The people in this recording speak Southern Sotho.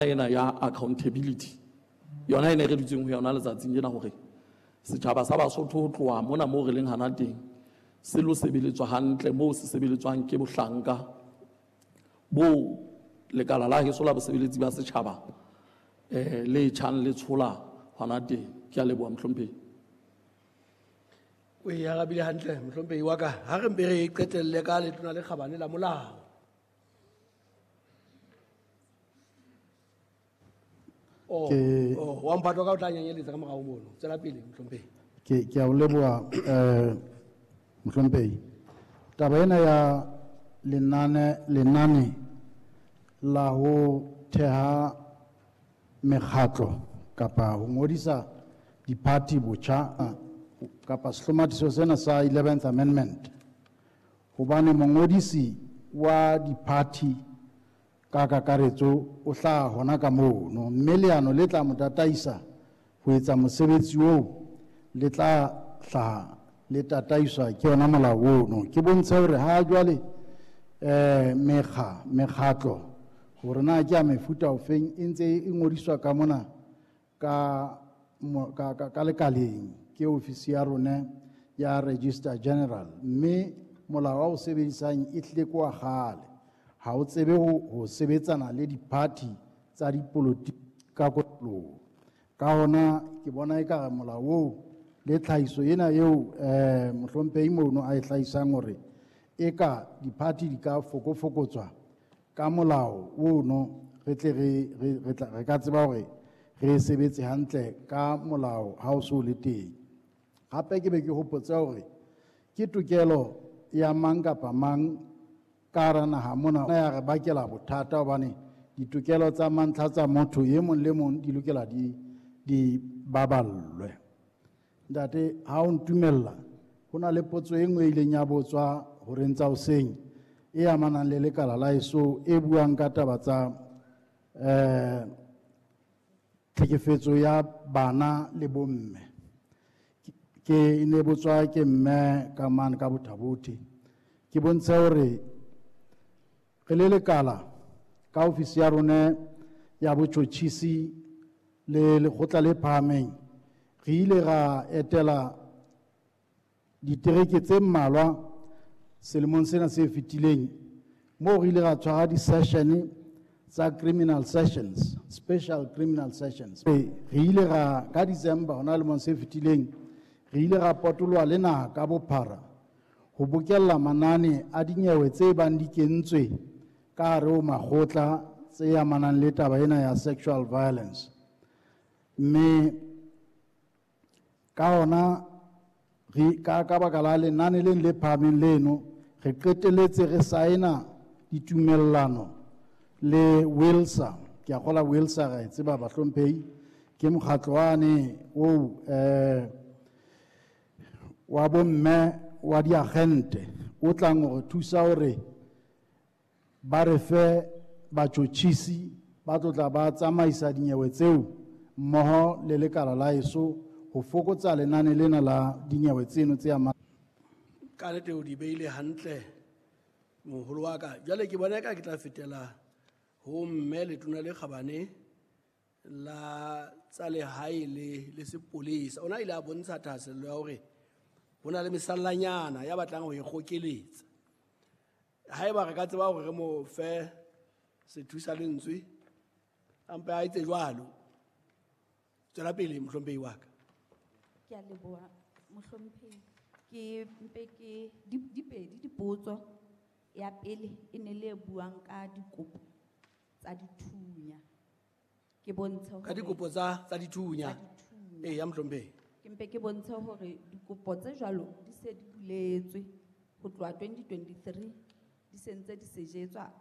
Ena ya accountability yona e ne re dutseng ho yona letsatsing lena, hore setjhaba sa Basotho ho tloha mona moo re leng hana teng se lo sebeletswa hantle moo se sebeletswang ke bohlanka bo lekala la heso la bosebeletsi ba setjhaba le tjhang le tshola hona teng. Ke a leboha, mohlomphehi. O e arabile hantle, mohlomphehi wa ka. Ha re mpe re qetelle ka Letona le Kgabane la Molao. Oh, oh, wa mphatwa ka o tla nyanyeletsa ka morao mono. Tswela pele, mohlomphehi. Ke a o leboha, mohlomphehi. Taba ena ya lenane la ho theha mekgatlo kapa ho ngodisa diphathi botjha kapa sehlomathiso sena sa 11th Amendment, hobane mongodisi wa diphathi ka kakaretso o hlaha hona ka mono, mme leano le tla mo tataisa ho etsa mosebetsi oo le tla hlaha le tataiswa ke yona molao ono. Ke bontshe hore ha jwale mekgatlo hore na ke ya mefuta ofeng e ntse e ngodiswa ka mona ka lekaleng ke ofisi ya rona ya Registrar General, mme molao wa o sebedisang e tlile ke wa kgale, ha o tsebe ho sebetsana le diphathi tsa dipolotiki ka kotloloho. Ka hona ke bona ekare molao oo le tlhahiso ena eo mohlomphehi mono a e hlahisang hore eka diphathi di ka fokofokotswa ka molao ono, re tle re ka tseba hore re sebetse hantle ka molao ha o so le teng. Hape ke be ke hopotse hore ke tokelo ya mang kapa mang ka hara naha mona ya re bakela bothata, hobane ditokelo tsa mantlha tsa motho e mong le mong di lokela di baballwe. Ntate, ha o ntumella, ho na le potso e nngwe e ileng ya botswa horeng tsa hoseng e amanang le lekala la heso e buang ka taba tsa tlhekefetso ya bana le bomme. Ke ne botswa ke mme ka mane ka Botha-Bothe. Ke bontshe hore re le lekala ka ofisi ya rona ya botjhotjhisi le lekgotla le phahameng, re ile ra etela ditereke tse mmalwa selemong sena se fetileng, moo re ile ra tshwara di-session tsa criminal sessions, special criminal sessions. Re ile ra ka December hona lemong se fetileng, re ile ra potoloha le naha ka bophara ho bokella manane a dinyewe tse bang di kentswe ka hare ho makgotla tse amanang le taba ena ya sexual violence. Mme ka hona re ka baka la lenane leng le phahameng leno, re qetelletse re saena ditumellano le WILSA. Ke a kgolwa WILSA ra e tseba bahlomphehi, ke mokgatlo wane oo wa bomme wa diagente o tlang hore thusa hore ba re fe batjhotjhisi ba tlo tla ba tsamaisa dinyewe tseo mmoho le lekala la heso ho fokotsa lenane lena la dinyewe tseno tse amang. Ka nnete o di beile hantle moholo wa ka. Jwale ke bona eka ke tla fetela ho mme Letona le Kgabane la tsa lehae le sepolesa. Ona ile a bontsha thahasello ya hore ho na le mesallanyana ya batlang ho e kgokeletsa. Haeba re ka tseba hore re mo fe sethusa lentswe, a mpe a etse jwalo. Tswela pele, mohlomphehi wa ka. Ke a leboha, mohlomphehi. Ke mpe ke di pedi dipotso. Ya pele e ne le e buang ka dikopo tsa dithunya. Ke bontshe Ka hore dikopo tsa dithunya. Tsa dithunya. Ee, ya mohlomphehi. Ke mpe ke bontshe hore dikopo tse jwalo di se di buletswe ho tloha 2023, di se ntse di sejetswa.